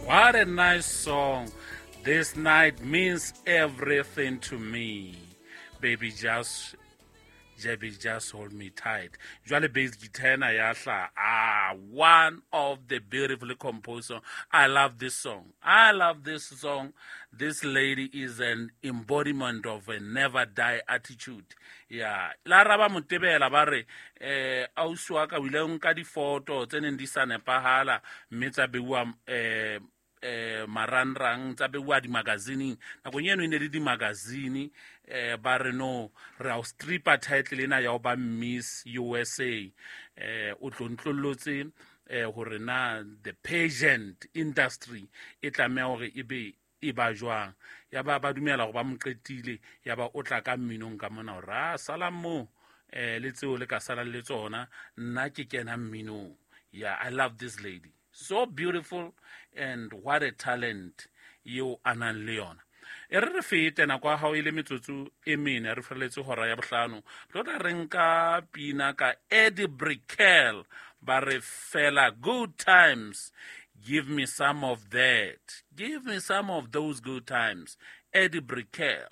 What a nice song. This night means everything to me. Baby, just Baby, just hold me tight. Jwale bass guitar ena ya hla. One of the beautifully composed song. I love this song. I love this song. This lady is an embodiment of a never die attitude. Yeah. La raba motebela ba re ausi wa ka o ile o nka difoto tse neng di sa nepahala mme tsa beuwa marangrang, tsa beuwa dimagazineng. Nakong eno e ne le dimagazine, ba re no re a o stripper title ena ya ho ba Miss USA. O tlontlollotse hore na the pageant industry e tlameha hore e be e ba jwang. Ya ba ba dumela hore ba mo qetile, ya ba o tla ka mminong ka mona hore a salang moo, le tseo le ka salang le tsona, nna ke kena mminong. Yeah, I love this lady. So beautiful and what a talent eo a nang le yona. E re re fete nako ya hao e le metsotso e mene, re feletse hora ya bohlano. Re tla re nka pina ka Eddie Brickell, ba re fela good times. Give me some of that. Give me some of those good times. Eddie Brickell.